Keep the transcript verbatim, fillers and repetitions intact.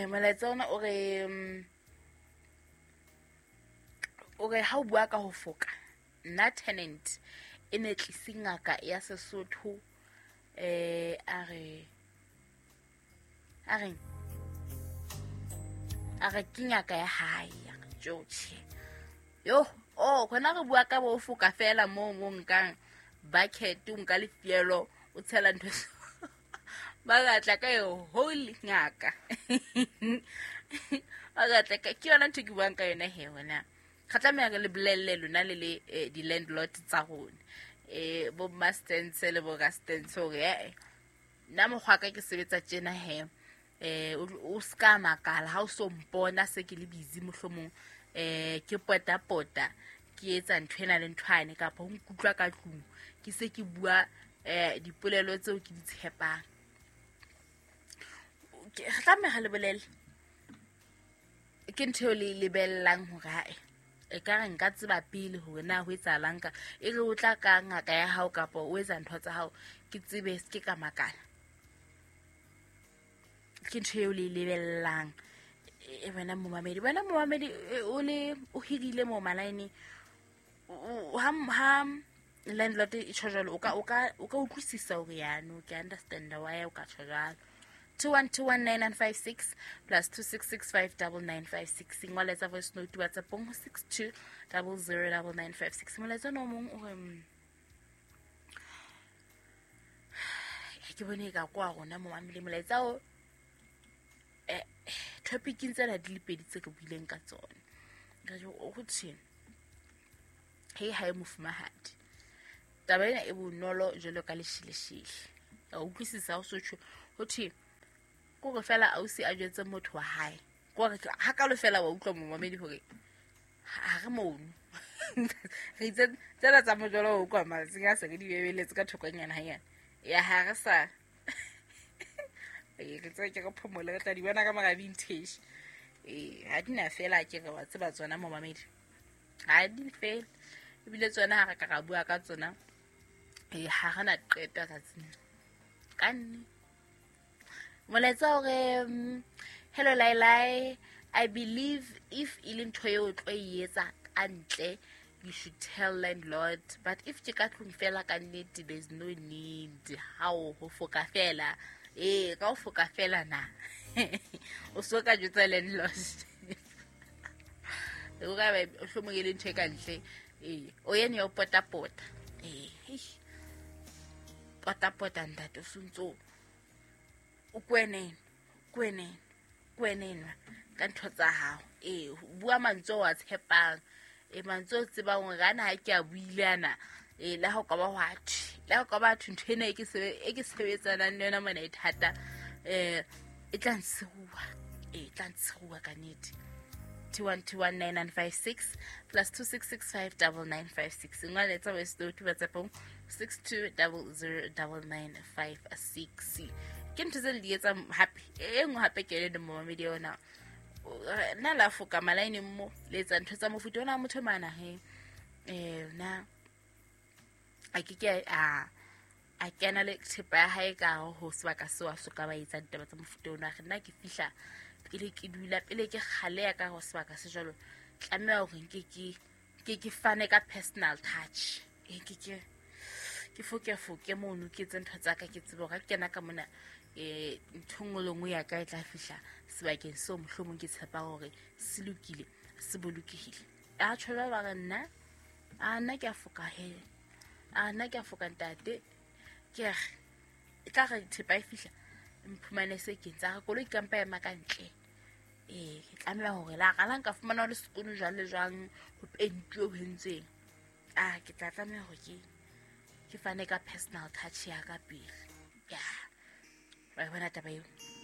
Molaetsa ona o re o re ha o bua ka ho foka nna tenant e ne tlise ngaka ya Sesotho eh a re a reng a re ke ngaka ya hae tjotjhe yo oh khona re bua ka bo foka fela mo mo nkang bucket o nka lefielo o tshela ntho ba batla ka yo holy ngaka ba batla ka ke yona ntho ke buang ka yona he wena re tlameha re le bolelle lona le le di-landlord tsa rona eh bo mastens le bo rastens hore eh nna mokgwa ka ke sebetsa tjena he eh o ska makala ha o so mpona se ke le busy mohlomong eh ke pota pota ke etsa ntho ena le nthwane kapa ho nkutlwa ka tlung ke se ke bua eh dipolelo tseo ke di tshepang ke tlameha le bolelle ke ntho le lebellang hore ha e ka re nka tseba pele hore na ho etsahalang ka e re o tla ka ngaka ya hao kapa o etsa ntho tsa hao ke tsebe se ke ka makala ke ntho eo le lebellang e wena momamedi wena momamedi o le o hirile mo malaene ha ha landlord e tjho jwalo o ka o ka o ka utlwisisa hore ya no ke understand why o ka tjho jwalo two one two one nine nine five six plus two six six five nine nine five six ngoletsa voice note WhatsApp ho six two zero zero nine nine five six molaetsa no mong o re ke bone ka kwa rona momamedi molaetsa o eh topic tsena di le pedi tse ke buileng ka tsona ka jo o thwe hey hae mofumahadi taba ena e bonolo jwalo ka leshileshile a utlwisisa o sotho ho thwe kore fela ausi a jwetse motho wa hae kore ha ka lo fela wa utlwa momamedi hore ha re mono re itse tsela tsa mojolo o kwa matsing a se re di bebeletse ka thokonyana hanyane ya ha re sa e re tse ke re phomole re tla di bona ka mara vintage eh ha di na fela ke re wa tseba tsona momamedi ha di fela ebile tsona ha re ka ra bua ka tsona eh ha re na qeta tsatsing ka nne molaetsa hore hello Lailai, I believe if e le ntho eo tlo e etsa ka ntle you should tell landlord, but if ke ka tlung fela ka nnete there's no need how ho foka fela eh ka ho foka fela na o so ka jwetsa landlord o ka ba o hlomong e le ntho e ka ntle eh o yene ya pota pota eh pota pota ntate o sontso o kwenene kwenene kwenenwa ka ntho tsa hao eh bua mantswe wa tshepang e mantswe o tsebang hore ana ha ke a buile ana eh la ho ka ba hwa thwe la ho ka ba thwe ntho ena e ke sebe e ke sebetsanang le yona mona e thata eh e tla ntshuwa e tla ntshuwa ka nnete two one two one nine nine five six plus two six six five nine nine five six ngoletsa voice note WhatsApp six two zero zero nine nine five six ke ntho tse le di etsang hape e nngwe hape ke le momamedi yona nna la foka malaeneng mo le etsa ntho tsa mofuta ona motho mana he eh na a ke ke a a kena le thepa ya hae ka ho sebaka seo a soka ba etsa ditaba tsa mofuta ona re nna ke fihla pele ke dula pele ke kgaleya ka ho sebaka se jwalo tlameha hore nke ke ke ke fane ka personal touch e ke ke ke foke foke mono ke etse ntho tsa ka ke tsebe hore ha ke kena ka mona eh ntho nngwe le nngwe ya ka e tla fihla sebakeng seo mohlomong ke tshepa hore se lokile se bolokehile a tjho ba re nna a nna ke a foka he a nna ke a foka ntate ke re e tla re thepa e fihla mphumane se ke ntsa re koloi ka mpa ema ka ntle eh ke tlameha hore la qala nka fumana le sekolo jwang le jwang ho pentuwe ho entsweng ah ke tla tlameha hore ke ke fane ka personal touch ya ka pele ya wa bona taba eo.